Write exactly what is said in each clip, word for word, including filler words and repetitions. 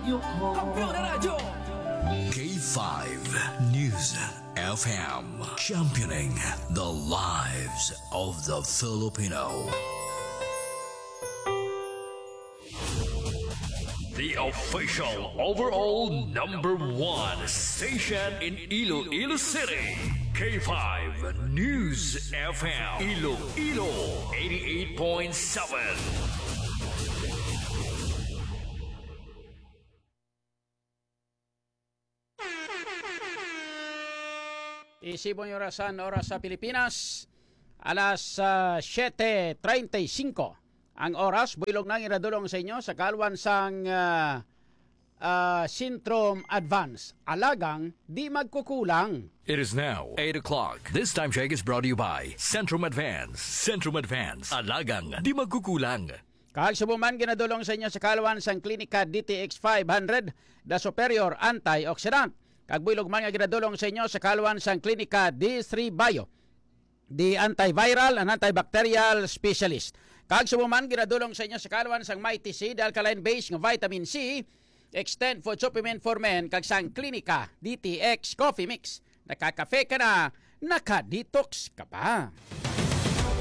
Kampiyon na Radyo. K five News F M, championing the lives of the Filipino. The official overall number one station in Iloilo City, K five News F M, Iloilo eighty-eight point seven. Isibong orasan, oras sa Pilipinas, alas, ah, siete treinta y cinco ang oras. Buylog na ang iradulong sa inyo sa kalwan sang, ah, ah, Centrum Advance. Alagang di magkukulang. It is now eight o'clock. This time check is brought to you by Centrum Advance. Centrum Advance. Alagang di magkukulang. Kag subong man ginadulong sa inyo sa kalwan sang Klinika D T X five hundred, the superior antioxidant. Kag buylog man nga ginadulong sa inyo sa kalwan sang Klinika D three Bio, the antiviral and antibacterial specialist. Kag subong man ginadulong sa inyo sa kalwan sang Mighty C, the alkaline base nga vitamin C, Extend Food Supplement for Men, kag sang Klinika D T X Coffee Mix. Nakakafe ka na, naka-detox ka pa.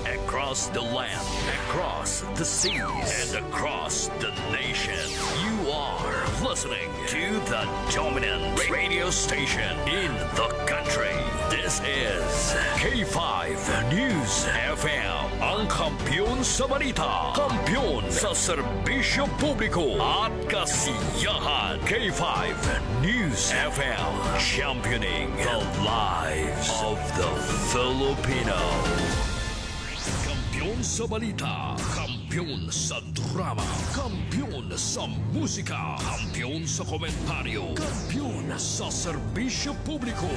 Across the land, across the seas, and across the nation, you are listening to the dominant radio station in the country. This is K five News F M, ang kampiyon sa balita, kampiyon sa serbisyo publiko at kasiyahan. K five News F M, championing the lives of the Filipino. Kampiyon sa balita, kampiyon sa drama, kampiyon sa musika, kampiyon sa komentaryo, kampiyon sa serbisyo publiko.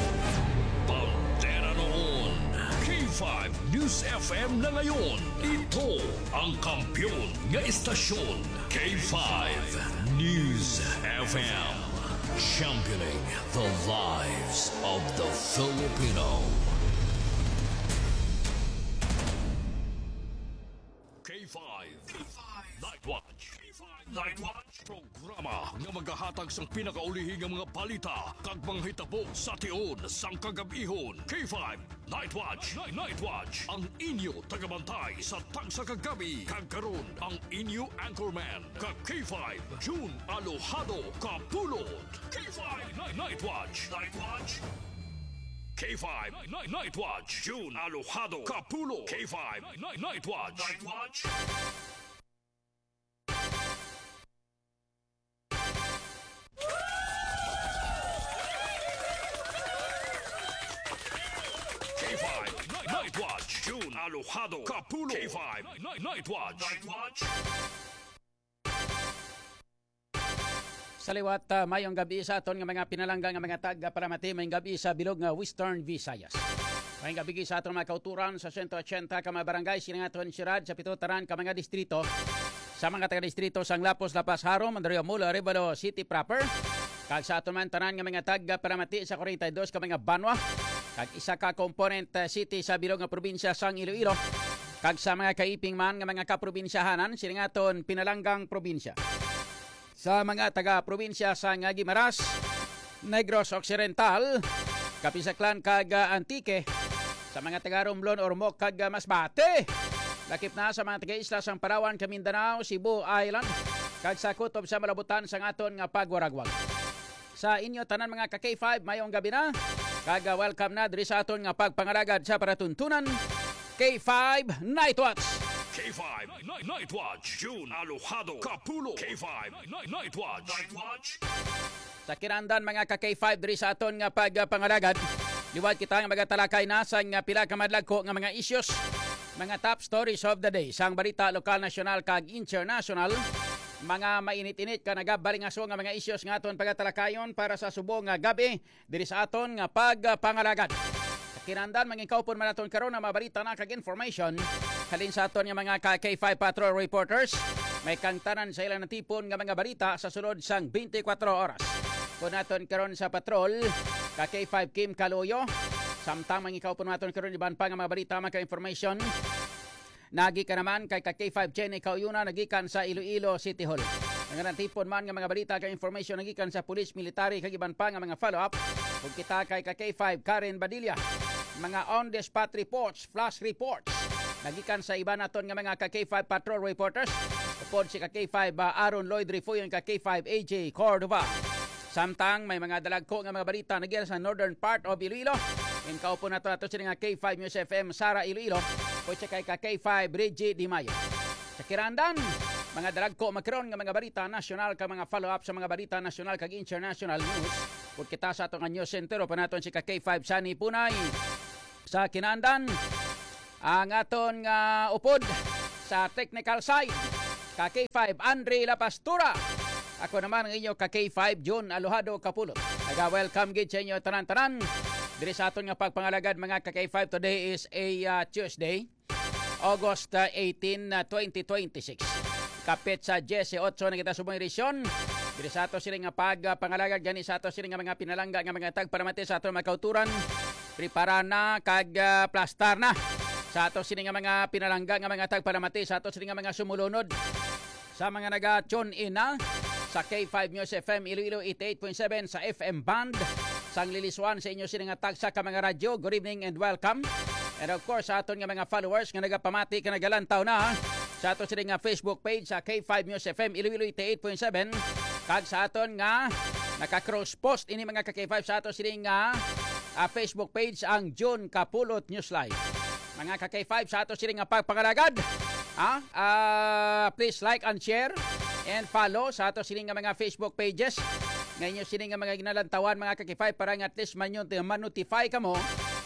Bandera noon, K five News F M na ngayon. Ito ang kampiyon nga istasyon, K five News F M. Championing the lives of the Filipino. K five Night Watch. K five Night Watch. Programa nga magahatag sang pinakaulihi nga mga balita kag mga hitabo sa tion sang kagab-ihon. K five Night Watch. Night, Night Watch. Ang inyo tagabantay sa tagsa ka gabi. Kag karon, ang inyo anchorman, ka K five, June Alojado Kapulot. K five Night, Night Watch. Night Watch. K five Night, Night Watch. June Alojado Kapulot. K five Night, Night Watch. Night Watch. K five Night, Night Watch, June Alojado Kapulot. K five Night, Night Watch. Night Watch. Sa liwat, ah, mayong gabi sa aton nga mga pinalangga nga mga tag-, ah, palamati, mayong gabi sa bilog nga Western Visayas. Mayong gabi sa aton mga kauturan sa sento ochenta ka mga barangay, sining aton siyudad, sa pito tanan ka mga distrito. Sa mga taga-distrito sang Lapuz, La Paz, Jaro, Mandaluyong, Molo, Arevalo City proper, kag sa aton man tanan nga mga tag-, ah, palamati sa kwarenta y dos ka mga banwa, kag isa ka component, ah, city sa bilog nga probinsya sang Iloilo, kag sa mga kaiping man nga mga kaprobinsyahanan sining aton pinalanggang probinsya. Sa mga taga-probinsya sang Guimaras, Negros Occidental, Capiz Aklan kag, ah, Antique, sa mga taga-Romblon, Ormoc kag, ah, Masbate, lakip na sa mga taga-isla sang Palawan, Mindanao, Cebu Island, kag sa kutob sa malabutan sang aton nga pagwaragwag. Sa inyo tanan, mga ka K five, mayong gabi na, kag, ah, welcome na diri sa aton nga pagpangalagad sa palatuntunan, K five Night Watch. K five Night, Night Watch. June Alojado Kapulot. K five Night, Night Watch. Night Watch. Sa kinahanglan, mga ka K five, diri sa aton nga pagpangalagad, liwat kita nga magatalakay na sa nga pila ka madlagko nga mga issues, mga top stories of the day, sang balita lokal, nasyonal, kag international, mga mainit-init ka nagabalingaso nga mga issues nga aton pagatalakayon para sa subong nga gabi, diri sa aton nga pagpangalagad. Sa kinahanglan, mangikaupon man naton karon ang mga balita na kag information halin sa aton nga mga ka K five Patrol reporters. May kang tanan sa ilang natipon nga mga balita sa sulod sang twenty-four oras. Kun naton karon sa patrol, ka K five Kim Kaloyo, samtang mangikaupon naton karon iban pa nga mga balita, mga ka-information. Nagikan naman kay ka K five Jenny Kauyuna, nagikan sa Iloilo City Hall. Nga natipon man nga mga balita kag information nagikan sa pulis, military kag iban pa nga mga follow-up. Ug kita kay ka K five Karen Badilla, mga on the spot reports, flash reports nagikan sa iban naton nga mga ka K five patrol reporters, upod si ka K five, ah, Aaron Lloyd Refuyon, ka K five A J Cordova. Samtang may mga dalagko nga mga balita nagikan sa northern part of Iloilo, in kaupon nato nato sila nga K five News F M Sara Iloilo, upod siya kay ka K five Reggie Di Mayo. Sa Kirandan, mga dalagko magkaron nga mga balita nasyonal kag mga follow-up sa mga balita nasyonal kag international news. Upod kita sa ato nga news center, upod naton si ka K five Sunny Punay. Sa Kinandan, ang aton nga upod sa technical side, ka K five Andre La Pastura. Ako naman ang inyo ka K five Jun Alojado Kapulot. Naga-welcome gid sa inyo tanan-tanan diri sa aton nga pagpangalagad, mga ka K five. Today is a, ah, Tuesday, August, ah, eighteen, ah, twenty twenty-six. Kapit sa diyesiyotso na kita subong edisyon. Diri sa ato sini nga pag, ah, pangalagad gani sa ato sini nga mga pinalangga nga mga tagparamati sa ato mga kauturan. Prepara na kag, ah, plastar na sa ato sini nga mga pinalangga nga mga tagparamati sa ato sini nga mga sumulunod. Sa mga naga-tune in na sa K five News F M Iloilo eighty-eight point seven sa F M band, sang liliswan sa inyo sini nga tagsa ka mga radyo, good evening and welcome. And of course, sa aton nga mga followers nga nagapamati ka nagalantaw na sa ato sini nga Facebook page sa K five News F M Iloilo eighty-eight point seven, kag sa aton nga naka-cross post ini, mga ka K five, sa ato sini nga, ah, Facebook page, ang June Kapulot News Live. Mga ka K five, sa ato sini nga pagpangalagad, ha? Ah, please like and share and follow sa ato sini nga mga Facebook pages nga inyo sini nga mga ginalantawan, mga ka K five, para nga at least man yun, ma-notify kamo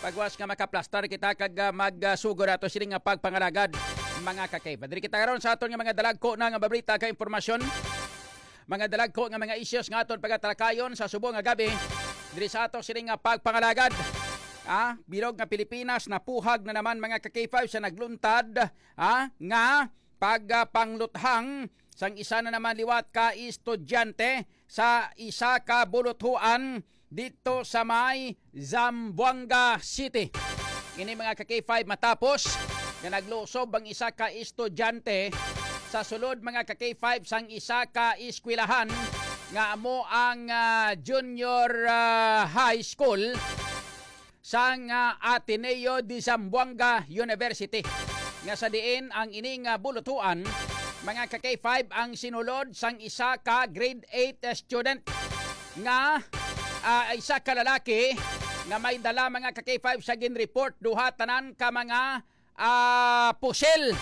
pagwas nga makaplastar kita kag, ah, magsugod ato sini nga pagpangalagad, mga ka K five. Diri kita karon sa aton nga mga dalagko na nga babrita ka impormasyon, mga dalagko nga mga issues nga aton pagatalakayon sa subong nga gabi diri sa ato sini nga pagpangalagad. Ah, bilog nga Pilipinas napuhag na naman, mga ka K five, sa nagluntad, ah, nga pagpangluthang sang isa na naman liwat ka estudyante sa isa ka buluthuan dito sa may Zamboanga City. Ini, mga ka K five, matapos nga naglusob ang isa ka estudyante sa sulod, mga ka K five, sang isa ka eskwelahan nga amo ang, ah, junior, ah, high school sang, ah, Ateneo de Zamboanga University, nga sa diin ang ining, ah, bulutuan, mga ka K five, ang sinulod sang isa ka grade eight student nga, ah, isa ka lalaki nga may dala, mga ka K five, sa ginreport, duha tanan ka mga, ah, pusil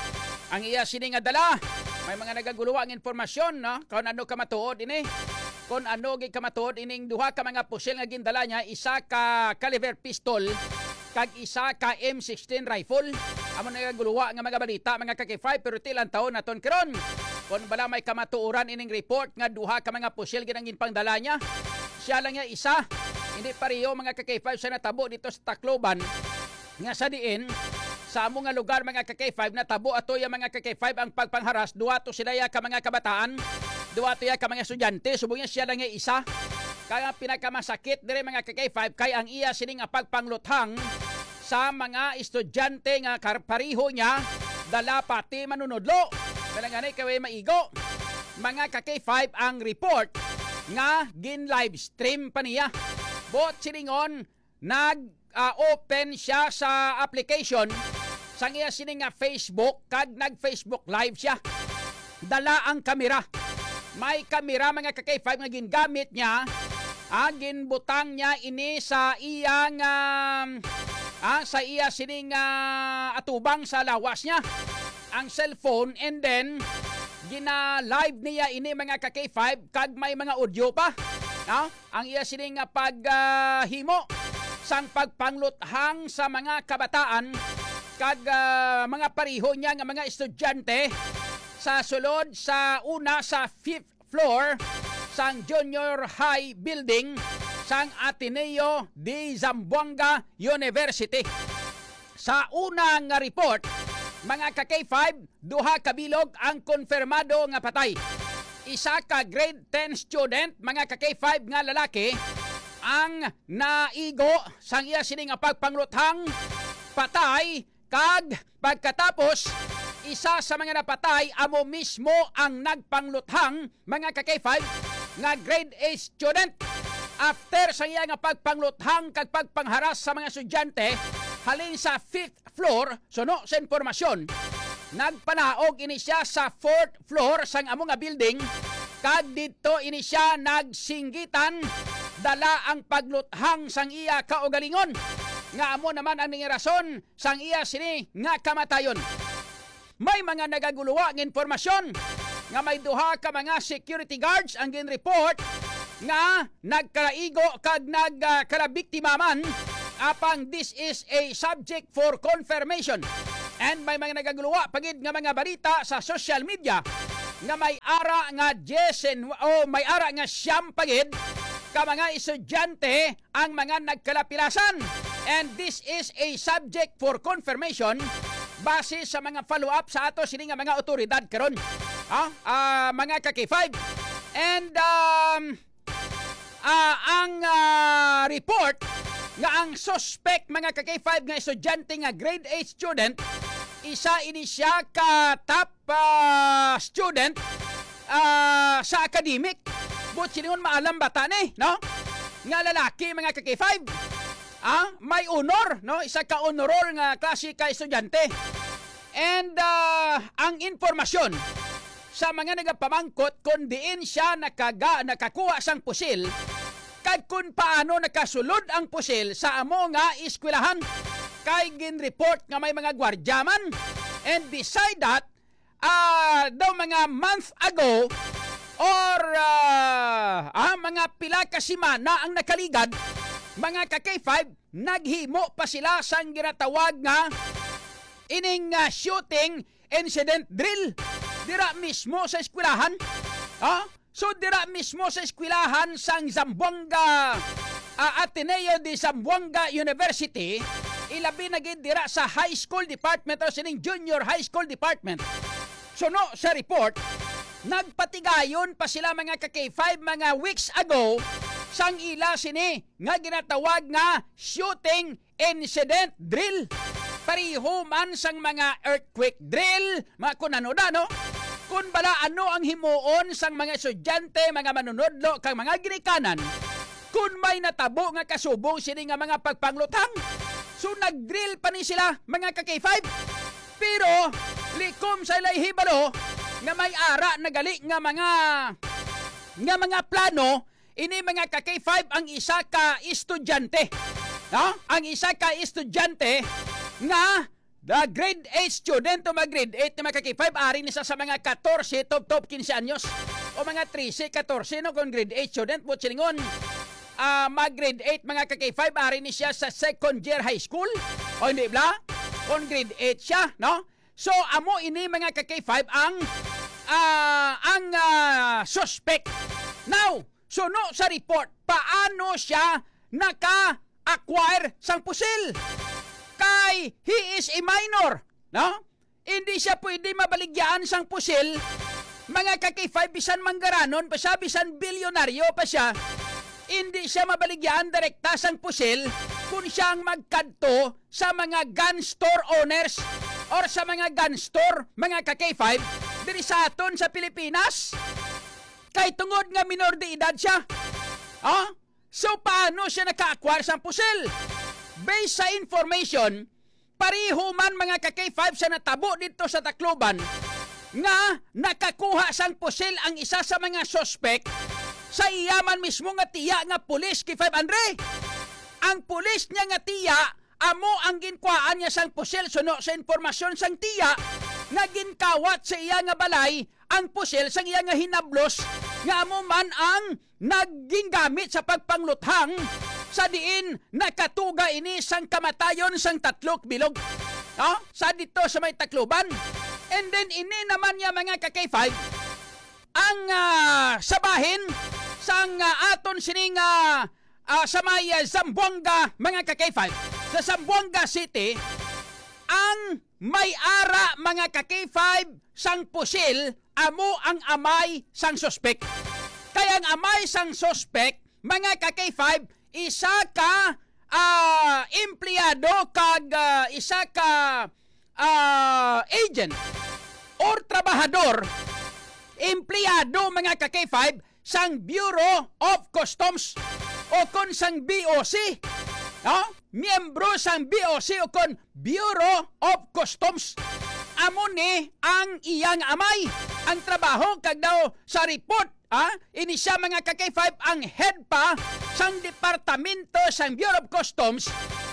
ang iya sini nga dala. May mga nagaguluwa ang informasyon, no? Kung ano ka matuod ini. Kung ano gid ka matuod ining duha ka mga pusil nga gindala niya, isa ka caliber pistol kag isa ka M sixteen rifle. Amo na nagaguluwa nga mga balita, mga ka K five, pero ti lang taon naton karon. Kung bala may kamatuoran ining report nga duha ka mga pusil gid ang ginpangdala niya, siya lang niya isa. Hindi pareho, mga ka K five, sa natabo dito sa Tacloban, nga sa diin sa amo nga lugar, mga ka K five, natabo ato ya, mga ka K five, ang pagpangharas. Duha to sila ya ka mga kabataan, duha to ya ka mga estudyante, subong niya siya lang ya isa. Kaya ang pinakamasakit dire, mga ka K five, kay ang iya sini nga pagpangluthang sa mga estudyante nga kar-, pareho niya, dala pati manunudlo. Kaya gani kay way maigo, mga ka K five, ang report nga gin-live stream pa niya. Buot silingon, nag, ah, open siya sa application sang iya sini nga Facebook kag nag-Facebook Live siya. Dala ang kamera. May kamera, mga ka K five, nga gingamit niya. Ah, ginbutang niya ini sa iyang, ah, ah, sa iya sining, ah, atubang sa lawas niya, ang cellphone, and then gina-live niya ini, mga ka K five, kag may mga audio pa. No? Ang iya sining nga pag, ah, himo sang pagpangluthang sa mga kabataan kag, ah, mga pareho niya nga mga estudyante sa sulod sa una sa fifth floor sang Junior High Building sang Ateneo de Zamboanga University. Sa una nga report, mga ka K five, duha ka bilog ang konfirmado nga patay. Isa ka grade ten student, mga ka K five, nga lalaki ang naigo sang iya sini nga pagpangluthang patay, kag pagkatapos Isa sa mga napatay amo mismo ang nagpangluthang, mga ka-K five, nga grade eight student. After sa iya nga pagpangluthang kag pagpangharas sa mga estudyante halin sa fifth floor, suno sa impormasyon, nagpanaog ini siya sa fourth floor sang amo nga building, kag didto ini siya nagsinggitan. Dala ang pagluthang sang iya kaugalingon, nga amo naman ang nangin rason sang iya sini nga kamatayon. May mga nagaguluwa nga impormasyon nga may duha ka mga security guards ang ginreport nga nagkalaigo kag nagkalabiktima man, apang this is a subject for confirmation. And may mga nagaguluwa pa gid nga mga balita sa social media nga may ara nga diyes en-, o may ara nga siyam pa gid ka mga estudyante ang mga nagkalapilasan. And this is a subject for confirmation base sa mga follow-up sa ato sini nga mga awtoridad karon. Ha? Ah, mga ka-K five. And, um, ah, ang, ah, report nga ang suspect, mga ka-K five, nga estudyante nga grade eight student, isa ini siya ka top ah, student, ah, sa academic. Buot silingon, maalam bata ni, no? Nga lalaki, mga ka-K five. Ah, may honor, no? Isa ka honor roll nga klase ka estudyante. And, ah, ang impormasyon sa mga nagapamangkot kung diin siya nakaga-, nakakuha sang pusil, kag kung paano nakasulod ang pusil sa amo nga eskwelahan. Kay ginreport nga may mga gwardya man. And beside that, ah, daw mga month ago or, ah, ah, mga pila ka semana ang nakaligad, mga ka-K five, naghimo pa sila sang ginatawag nga ining, ah, shooting incident drill dira mismo sa eskwelahan. Ha? So, dira mismo sa eskwelahan sang Zamboanga, ah, Ateneo de Zamboanga University, ilabi na gid dira sa high school department o sining junior high school department. Suno sa report, nagpatigayon pa sila, mga ka-K five, mga weeks ago sang ila sini nga ginatawag nga shooting incident drill. Pareho man sang mga earthquake drill, mga kun ano da, no? Kun bala ano ang himuon sang mga estudyante, mga manunodlo, kag mga ginikanan, kun may natabo nga kasubong sini nga mga pagpangluthang. So, nag-drill pa ni sila, mga ka-K five. Pero, likom sa ilay hibalo nga may ara na gali nga mga, nga mga plano, ini, mga ka-K five, ang isa ka estudyante. No? Ang isa ka estudyante nga, the grade eight student o mga grade eight na, mga ka-K five, ari ni sa, sa mga katorse, top, top, kinse anyos. O mga trese, katorse, no? Kung grade eight student, buot silingon, ah, mag grade eight, mga ka-K five, ari ni siya sa second year high school. O hindi, bla? Kung grade eight siya, no? So, amo ini, mga ka-K five, ang, ah, ang, ah, suspect. Now, suno sa report, paano siya naka-acquire sang pusil? Kay he is a minor, no? Hindi siya pwede mabaligyaan sang pusil, mga ka-K five, bisan manggaranon pa siya, bisan bilyonaryo pa siya. Hindi siya mabaligyaan direkta sang pusil kung siya ang magkadto sa mga gun store owners or sa mga gun store, mga ka-K five, diri sa aton sa Pilipinas. Kay tungod nga minor de edad siya. Ah? So, paano siya naka-acquire sang pusil? Based sa information, pareho man, mga ka-K five, sa natabo dito sa Tacloban nga nakakuha sang pusil ang isa sa mga suspect sa iya man mismo nga tiya nga pulis, K five Andre. Ang pulis niya nga tiya, amo ang ginkuhaan niya sang pusil suno sa impormasyon sang tiya nga ginkawat sa iya nga balay ang pusil sang iya nga hinablos nga amo man ang naging gamit sa pagpangluthang sa diin nakatuga ini sang kamatayon sang tatlo ka bilog. No? Sa dito sa may Tacloban. And then ini naman niya, mga ka-K five, ang, ah, sa bahin sang, ah, aton sining, ah, ah, sa may, ah, Zamboanga, mga ka-K five. Sa Zamboanga City, ang may ara, mga ka-K five, sang pusil amo ang amay sang suspek. Kay ang amay sang suspek, mga ka-K five, isa ka, ah, empleyado kag, ah, isa ka, ah, agent or trabahador, empleyado, mga ka-K five, sang Bureau of Customs o kon sang B O C, no? Miyembro sang B O C o kon Bureau of Customs. Amo ni ang iyang amay. Ang trabaho kag daw sa report, ah, ini siya, mga ka-K five, ang head pa sang departamento sang Bureau of Customs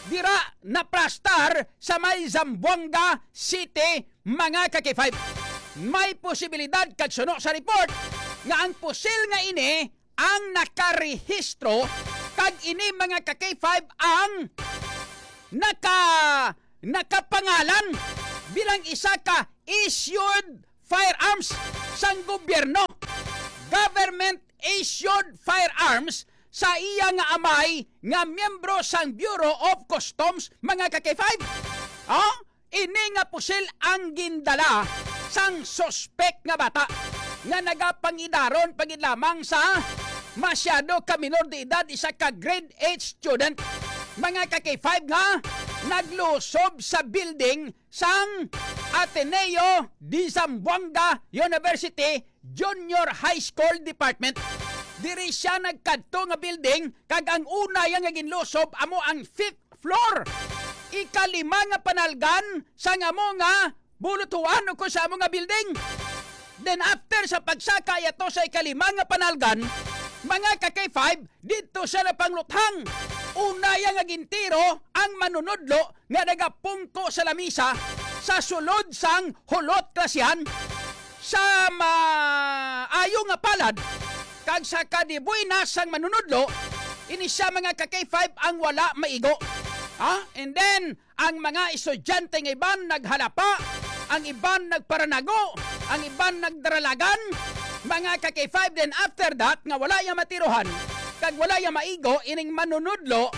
dira naplastar sa may Zamboanga City, mga ka-K five. May posibilidad kag suno sa report nga ang pusil nga ini ang nakarehistro, kag ini, mga ka-K five, ang naka nakapangalan bilang isa ka issued firearms sang gobyerno. Government issued firearms sa iya nga amay nga miyembro sang Bureau of Customs, mga ka-K five. Oh? Ini nga pusil ang gindala sang suspek nga bata nga nagapangidaron pa gid lamang sa masyado ka minor de edad, isa ka grade eight student, mga ka-K five, nga naglusob sa building sang Ateneo de Zamboanga University Junior High School Department. Diri siya nagkadto nga building, kag ang una iya nga ginlusob amo ang fifth floor, ikalima nga panalgan sang amo nga bulutuan o kon sa amo nga building. Then after sa pagsaka yato sa ikalima nga panalgan, mga ka-K five, didto siya napangluthang. Una iya nga gintiro ang manunudlo nga nagapungko sa lamisa sa sulod sang hulot klasihan. Sa maayo nga palad kag sa kadibuy na sang manunudlo, ini siya, mga ka-K five, ang wala maigo. Ha? And then, ang mga estudyante nga iban naghalapa, ang iban nagparanago, ang iban nagdaralagan, mga ka-K five. Then after that, nga wala iya matirohan, kag wala iya maigo, ining manunudlo,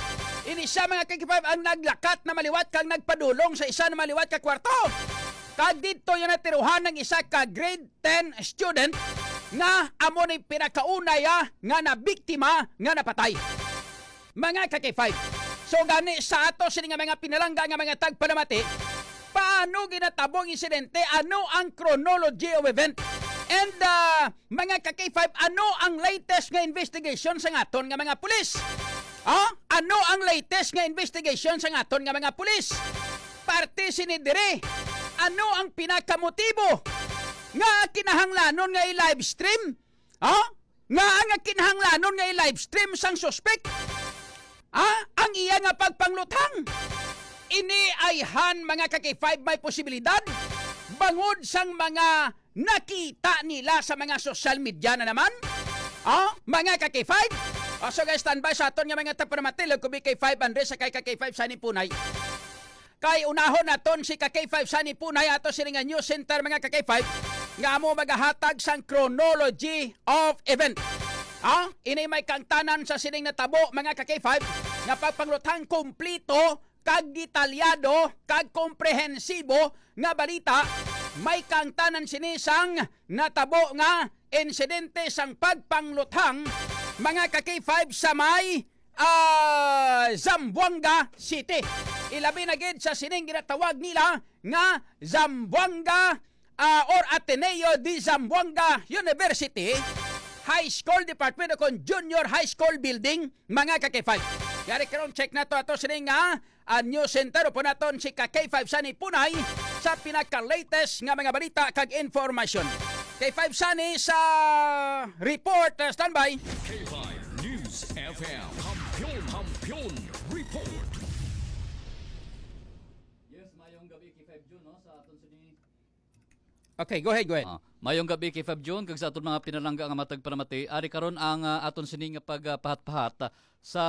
ini siya, mga ka-K five, ang naglakat na maliwat kag nagpadulong sa isa na maliwat ka kwarto. Kag didto iya natirohan ang isa ka grade ten student nga amo ni pinakauna iya nga nabiktima nga napatay. Mga ka-K five. So gani, sa ato sini nga mga pinalangga nga mga tagpalamati, paano ginatabo ang insidente? Ano ang chronology of event? And, ah, mga ka-K five, ano ang latest nga investigation sa aton nga mga pulis? Ah, ano ang latest nga investigation sa aton nga mga pulis? Parte sini diri, ano ang pinakamotibo nga kinahanglanon nga i-live stream? Ha? Nga ang kinahanglanon nga i-live stream sang suspek? Ha? Ang iya nga pagpangluthang? Ini ayhan, mga ka-K five, may posibilidad bangod sang mga nakita nila sa mga social media na naman? Ha? Mga ka-K five? O, so guys, standby sa aton nga mga tagpalamati, Kubi K five Andres, sa kay ka-K five Sunny Punay. Kay unahon naton si ka-K five Sunny Punay ato sini nga news center, mga ka-K five, nga amo magahatag sang chronology of event. Ha? Ini may kangtanan sa sining natabo, mga ka-K five, nga pagpangluthang kumplito kag detalyado kag komprehensibo nga balita. May kangtanan sini sang natabo nga insidente sang pagpangluthang, mga ka-K five, sa may ah, Zamboanga City. Ilabi na gid sa sining ginatawag nila nga Zamboanga, ah, or Ateneo de Zamboanga University High School Department o kon Junior High School Building, mga ka-K five. Yari karon, check nato ato sining nga, ah, news center. Upo naton si ka-K five Sunny Punay sa pinaka-latest nga mga balita kag informasyon. K five Sunny sa report. Ah, standby. K five News F M. Kampiyon, Kampiyon Report. Yes, mayong gabi, K five Jun, no? Sa aton sini. Okay, go ahead, go ahead. Ah, mayong gabi, K five Jun, kag sa aton mga pinalangga nga matag palamati. Ari karon ang, ah, aton sini nga pagpahat-pahat, ah, sa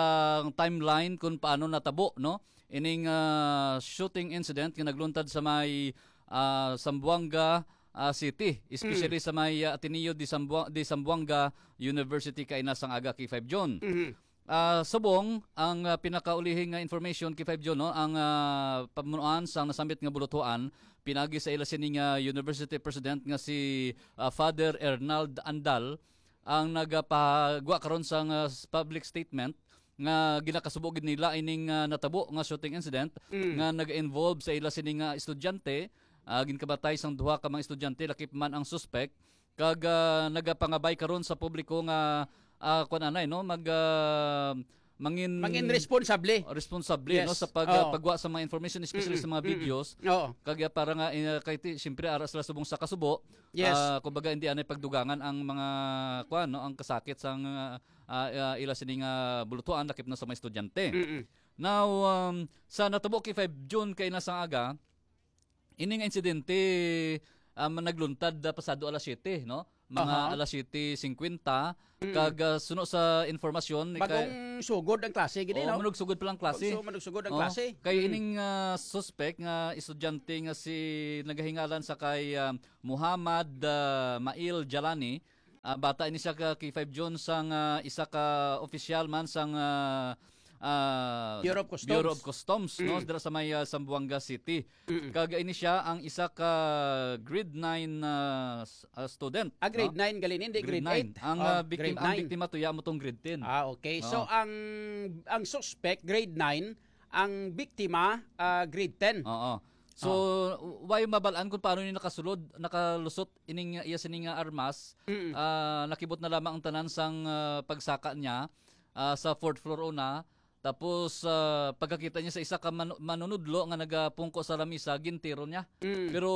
timeline kung paano natabo, no? Ining, ah, shooting incident nga nagluntad sa may, ah, Zamboanga, ah, City, especially Mm. sa may, ah, Ateneo de Zambua-, de Zamboanga University kaina sang aga, K five Jun. Mhm. Ah, subong ang, ah, pinakaulihing nga information, K five Jun, no, ang, ah, pamunuan sang nasambit nga bulutuan pinagi sa ila sini nga university president nga si, ah, Father Ernald Andal ang nagapagwa karon sang, ah, s-, public statement nga ginakasubo gid nila ining, ah, natabo nga shooting incident Mm. nga nag-involve sa ila sini nga estudyante Ah, ginkamatay sang duha ka mga estudyante, lakip man ang suspek, kag, ah, nagapangabay karon sa publiko nga, ah, kuwan anay, no, mag, ah, mangin Mangin responsable. Responsable, no, Yes. sa pag, Oo. pagwa sa mga information, especially Mm-mm. sa mga Mm-mm. videos. Oo. Kag, ah, para nga, eh, kay ti-, siyempre, ara sila subong sa kasubo. Yes. Ah, kumbaga, hindi anay pagdugangan ang mga, kuwan, no, ang kasakit sang, ah, ah, ah, ila sining, ah, bulutuan, lakip na sa mga estudyante. Mm-mm. Now, um, sa natabo kay five June kay na sang aga, ini nga insidente, um, nagluntad, ah, pasado alas siyete, no? Mga Aha. alas siyete cincuenta, Mm. kag, ah, suno sa informasyon, ni kay Bagong sugod ang klase, gini, Oh, no? manugsugod pa lang klase. Pagsu-, manugsugod ang Oh, klase. kay Mm. ining, ah, suspek nga estudyante nga si nagahingalan sa kay, ah, Muhammad, ah, Mail Jalani, ah, bata ini siya ka K five June sang, ah, isa ka opisyal man sang, ah, ah, Bureau of Customs. Bureau of Customs, no? Mm. Dira sa may, ah, Zamboanga City. Mm-mm. Kag ini siya ang isa ka grade nine, ah, s-, ah, student, Ah, grade no? nine gali ni, hindi Grade grade nine. eight. Ang, Oh, ah, biktim-, grade ang nine. biktima to, ya mo tong grade ten. Ah, okay. So, Oo. ang, ang suspect, grade nine, ang biktima, ah, grade ten. Oo. So, Ah. why mabalaan kung paano ni nakasulod, nakalusot ining iya sini nga armas? Mm. Ah, nakibot na lamang ang tanan sang, ah, pagsaka niya, ah, sa fourth floor una. Tapos, ah, pagkakita niya sa isa ka manu-, manunudlo nga nagapungko sa lamisa, gintiro niya. Mm. Pero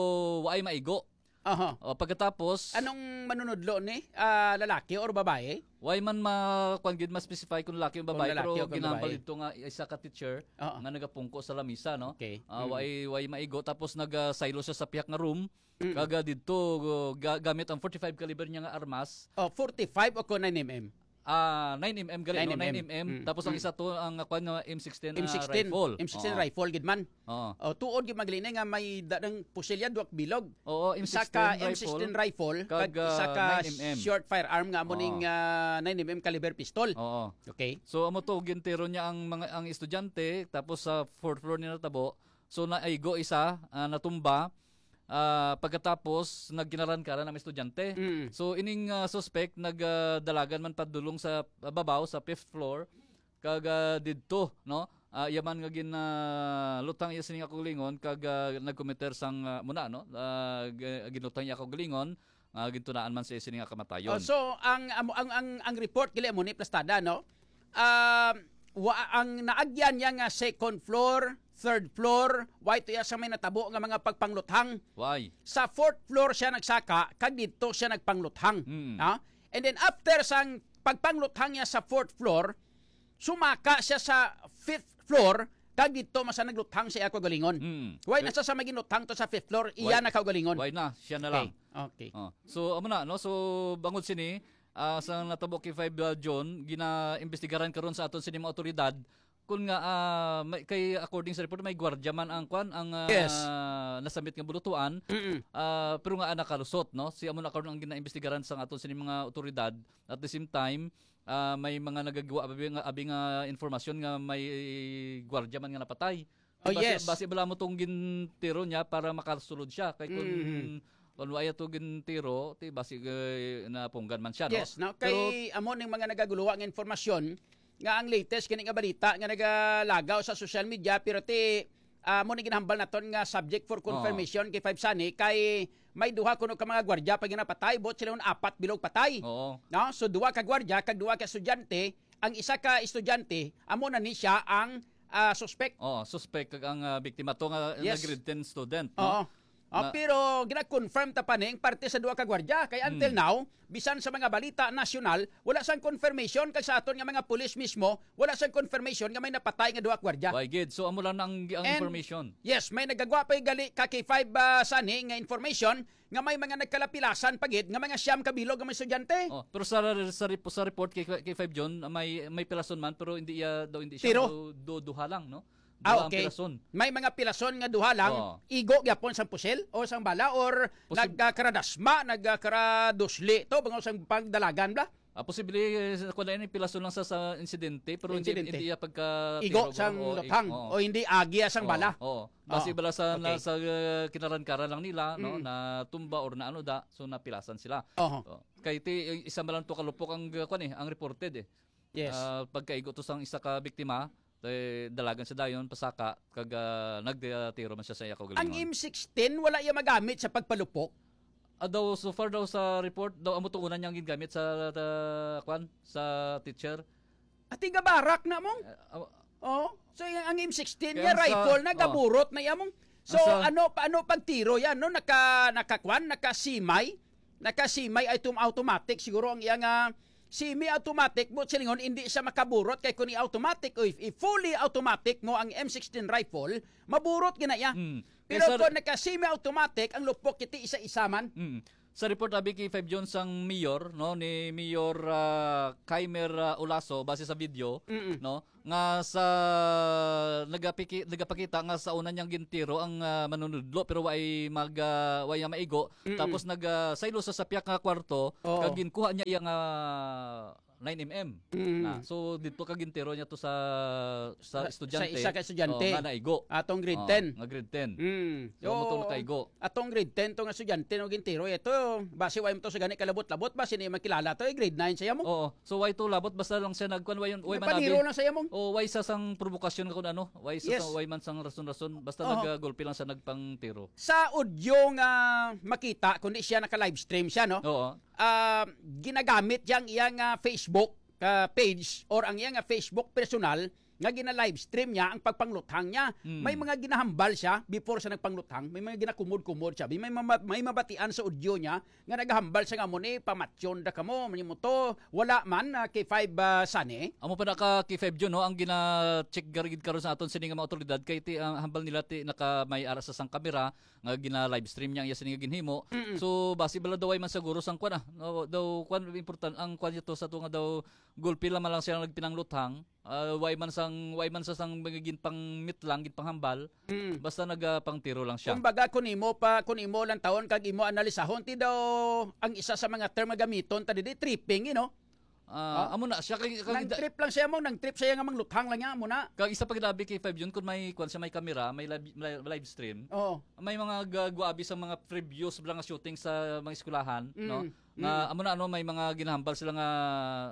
waay maigo. Aha. O, pagkatapos Anong manunudlo ni? Ah, lalaki or babae? Why man ma-, kuwan gid ma-specify kung lalaki o Kung babae, lalaki pero o kung ginahambal babae. dito nga isa ka teacher Oo. nga nagapungko sa lamisa, no? Okay. Ah, Mm. way, way maigo. Tapos nag, ah, saylo siya sa pihak nga room. Mm. Kaga dito, ga-, gamit ang forty-five caliber niya nga armas. Oh, forty-five o ko nine M M? Ah, nine M M gali, no? Nine M M. Nine M M. Mm. Tapos ang Mm. isa to, ang, ah, kuwan nga M sixteen, ah, M sixteen. rifle. M sixteen Oo. rifle gid man. Oo. Oh, tuod gid man gali ni nga may da-, ng pusilya, duwak bilog. Oo, Isa ka M sixteen rifle, M sixteen rifle, kag, kag isa ah, ka nine M M. short firearm nga amo Oo. ning, ah, nine M M caliber pistol. Oo. Okay. So, amo to, gintiro niya ang mga, ang estudyante, tapos sa fourth floor niya natabo. So, naigo isa, ah, natumba. Ah, pagkatapos, nagkinaran-karan ang estudyante. Mm. So, ining, ah, suspect, nag, ah, dalagan man padulong sa, ah, babaw, sa fifth floor. Kag, ah, didto, no? Ah, iya man nga gin, ah, lutang iya sini nga kaugalingon kag, ah, nagkomiter sang, ah, muna, no? Ah, g-, ginlutang iya kaugalingon, ah, gintunaan man siya sini nga kamatayon. Oh, so ang, ang, ang, ang, ang report gali mo ni plastada, no? Ah, wa, ang naagyan niya nga second floor, third floor, wa ito iya sa may natabo nga mga pagpangluthang. Why? Sa fourth floor siya nagsaka, kag didto siya nagpangluthang. Mm. Ha? And then after sang pagpangluthang niya sa fourth floor, sumaka siya sa fifth floor, kag didto man sa nagluthang sa iya kaugalingon. Mm. Why Eh, nasa sa may ginuthang to sa fifth floor, iya Why, na kaugalingon. why na? Siya na Okay. lang. Okay. Oh. So, amo na, no? So, bangod sini, ah, sa natabo kay five, ah, June, ginaimbestigaran karon sa aton sini mga otoridad kung nga, ah, may, kay according sa report, may gwardiya man ang kwan, ang, ah, Yes. nasamit nga bulutuan, Mm-mm. ah, pero nga, ah, nakalusot, no? Si amo na karon ang ginaimbestigaran sa aton sini mga otoridad. At the same time, ah, may mga nagagawa, abi nga, abi nga informasyon nga may gwardiya man nga napatay. Oh, Basi, yes. basi bala mo tong gintiro niya para makasulod siya. Kay kung, Mm-hmm. kung wala to gintiro, ti basi, eh, napunggan man siya, no? Yes, no? Pero Kay amo ning mga nagaguluwa nga informasyon nga ang latest kini nga balita nga nagalagaw sa social media, pero ti, ah, amo ni ginahambal naton nga subject for Oo. confirmation kay Five Sunny, kay may duha kuno ka mga gwardiya pa ginapatay, buot sila apat bilog patay. Oo. No? So, duha ka gwardiya kag duha ka estudyante. Ang isa ka estudyante, amo na ni siya ang, ah, suspect. Oo, suspect kag ang, ah, biktima to nga, nga Yes. grade ten student, no? Oo. Ah, Na pero gina-confirm ta pa ni ang parte sa duha ka gwardiya. Kay until Hmm. now, bisan sa mga balita nasyonal, wala sang confirmation, kag sa aton nga mga pulis mismo, wala sang confirmation nga may napatay nga duha ka gwardiya. Why gid? So, amo lang ang, ang And, information. yes, may nagagwa pa gali ka K five, ah, Sunny nga information nga may mga nagkalapilasan pa gid nga mga siyam ka bilog nga mga estudyante. Oh, pero sa, sa rep-, sa report kay, kay five June, may, may pilason man, pero hindi iya daw, hindi siya Tiro? daw du-, duha lang, no? Ah, Duha ang okay. pilason. May mga pilason nga duha lang, Oo. igo gyapon sang pusil o sang bala or Posib- nagkakaradasma, nagkakaradusli to, bangod sang pagdalagan bla? Ah, posible, eh, kung ano yung pilason lang sa, sa insidente, pero hindi, Insidente. hindi iya pagka Igo tiro, sang o, luthang, ig-, oo. o hindi agi sang Oo, bala. oo. Basi Oo. bala sa, na, Okay. sa, uh, kinaran-karan lang nila, no, Mm. na tumba or na ano da, so napilasan sila. Oho. Oh. Kay ti, isa man lang to kalupok ang, uh, kwan eh, ang reported eh. Yes. Ah, pagkaigo to sang isa ka biktima, Kay dalagan siya dayon, pasaka, kag, ah, nagtiro man siya sa iya Ang kaugalingon. M sixteen, wala iya magamit sa pagpalupok? Ah, daw, so far daw sa report, daw amo to una niyang gingamit sa, ah, kwan, sa teacher. Ati gabarak na mong? Eh, ah, Oh, so yung, ang M sixteen Kaya niya, ang sa rifle na, oh. gaburot na iya mong. So, Ang sa ano, paano pagtiro yan, no? Naka, nakakwan, nakasimay? Nakasimay ay tum-, automatic siguro ang iya nga semi-automatic mo, silingon, hindi siya makaburot kay kung i-automatic o if, if fully automatic mo ang M sixteen rifle, maburot gina iya. Mm. Pero Kay sa kung naka-semi-automatic, ang lupok iti isa-isa man. Mm. Sa report, abi, kay five June sang mayor, no, ni Mayor, ah, Kaimer, ah, Olaso, base sa video, Mm-mm. no, nga sa nagapiki-, nagapakita nga sa una niyang gintiro ang, ah, manunudlo, pero way mag, ah, way nga maigo. Mm-mm. Tapos nag, ah, saylo sa sapyak nga kwarto, Oo. kag ginkuha niya iya nga nine M M. Mm. Na. So, dito ka gintiro niya to sa, sa Sa, sa estudyante. isa ka estudyante. Oh, nga naigo. Atong grade Oh, ten. nga grade ten. Mm. So, mo to So, nakaigo. atong grade ten to nga estudyante no gintiro ito. Basi way mo to sa gani kalabot-labot, basi ni makilala to, eh, grade nine siya mo. Oo. So, way to labot, basta lang siya nagkuan, way, way Nagpaniro manabi. lang siya mo. Oh, way sa sang provokasyon nga kung ano, way sa Yes. sang, way man sang rason-rason, basta Oo. nagagulpi lang siya nagpangtiro. Sa audio nga makita, kundi siya naka-livestream siya, no? Oo. Ah, ginagamit yang iyang, ah, Facebook, ah, page or ang iyang, ah, Facebook personal nga gina-livestream niya ang pagpangluthang niya. Mm. May mga ginahambal siya before sa nagpangluthang, may mga ginakumod-kumod siya. May, may, mama-, may mabatian sa audio niya nga nagahambal siya nga mo ni pamatyon da kamo, mo to, wala man, ah, kay five, ah, Sunny. Amo pa na ka kay five June, no, ang gina-check garigid karon sa aton sini nga mga otoridad kay ti, ang hambal nila ti naka may ara sa sang kamera nga gina-livestream niya ang iya sini nga ginhimo. Mm-mm. So, basi bala daw way man siguro sang kwan, ah. No, daw kwan, important ang kwan ito sa to nga daw gulpi lamang lang siya nagpinangluthang. Ah, way man sang, way man sa sang mga ginpangmitlang, ginpanghambal. Mm. Basta nagapangtiro lang siya. Kumbaga, kung imo pa, kung imo lang taon kag imo analisahon, ti daw ang isa sa mga term nga gamiton ta didi, tripping, you know? Ah, Ah. amo na siya kay, kay Nang trip lang siya mo, nang trip siya nga mangluthang lang niya, amo na. Kag isa pa gid abi kay five June, kung may kwan siya, may kamera, may live, may live stream. Oo. May mga ga-, guabi sa mga previous bala nga shooting sa mga eskwelahan, Mm, no? Nga, mm. amo na, ano, may mga ginahambal sila nga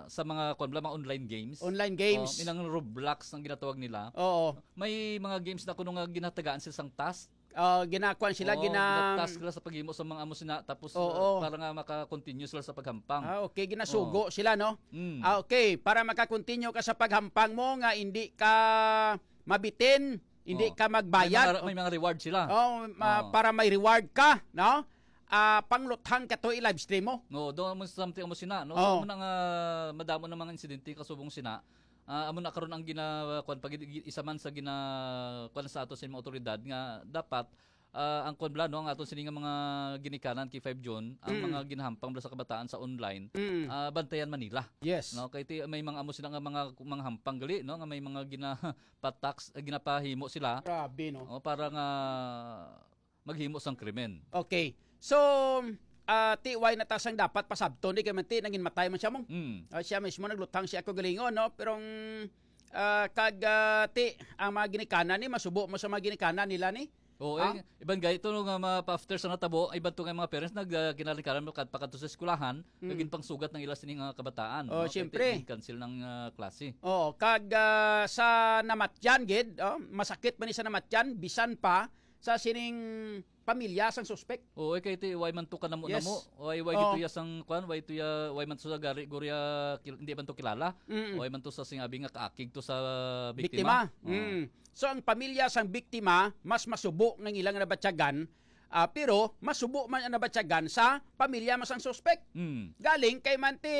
sa mga, kwan bala, mga online games. Online games. Oh, inang Roblox ang ginatawag nila. Oo. May mga games na kuno nga ginatagaan sila sang task. Ah, ginakuan sila, Oo, gina- gina-task sila sa paghimo sa mga amo sina, tapos, Oo. uh, para nga maka-continue sila sa paghampang. Ah, okay, ginasugo Oo. sila, no? Mm. Ah, okay, para maka-continue ka sa paghampang mo nga hindi ka mabitin, hindi Oo. ka magbayad. May mga, may mga reward sila. Oh, ma-, Oo. para may reward ka, no? Ah, pangluthang ka to i-livestream mo. No, do mo something mo sina, no? Oo. So, muna nga madamo na mga insidente kasubong sina. Ah, amo na karon ang gina-, kwan, pag-, isa man sa gina-, kwan sa ato sa mga otoridad nga dapat, ah, ang kwan bala, no, ang aton sini nga mga ginikanan kay five June, ang Mm. mga ginahampang bala sa kabataan sa online, Mm. ah, bantayan man nila. Yes. No, kay ti-, may mga amo sila nga mga, mga hampang gali, no, nga may mga gina-, pa-tax, ah, ginapahimo sila. Grabe, no? O, para nga maghimo sang krimen. Okay. So, ah, ti, way na ta sang dapat pasabton, di kay man ti, nangin matay man siya mong. Mm. Ah, siya mismo nagluthang siya ako galingon, no? Pero ang, ah, kag, ah, ti, ang mga ginikanan ni, masubo mo sa mga ginikanan nila ni? Oo, Ha? eh, iban gay ito nga mga pa-, after sa natabo, iban to nga mga parents nag, ah, kinalikaran mo kad-, pakadto sa eskwelahan, Mm. naging pangsugat ng ila sining, ah, kabataan, Oh, no? Kay siyempre. ti-, cancel ng, ah, klase. Oo, kag, ah, sa namatyan gid, oh, masakit man ni sa namatyan, bisan pa sa sining pamilya sang suspek. Oo, eh, kay ti, way man to kanamo-namo. Yes. Way, way Oo. gito ya sang, kwan, way to ya, way man to sa gari, guri ya, kil-, hindi man to kilala. Mm-mm. Way man to sa singabi nga kaakig to sa biktima. Biktima. Oo. Mm. So, ang pamilya sang biktima, mas masubo nga ilang nabatyagan, ah, pero masubo man ang nabatyagan sa pamilya man sang suspek. Mm. Galing kay man ti,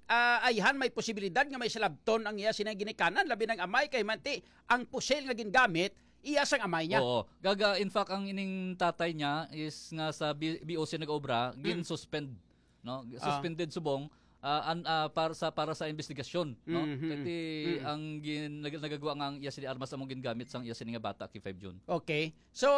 ah, ayhan may posibilidad nga may salabton ang iya sina ginikanan, labi ng amay kay man ti ang pusil nga gingamit iya sang amay niya. Oo. Gaga, in fact, ang ining tatay niya is nga sa B-, B O C nag-obra, Mm. gin-suspend, no? Ah. Suspended subong, ah, an-, ah, para sa, para sa investigasyon, no? Mhm. Kay ti Mhm. ang gin-, nag-, nagagawa nga ang iya sini armas among gingamit sang iya sini nga bata kay five June. Okay. So,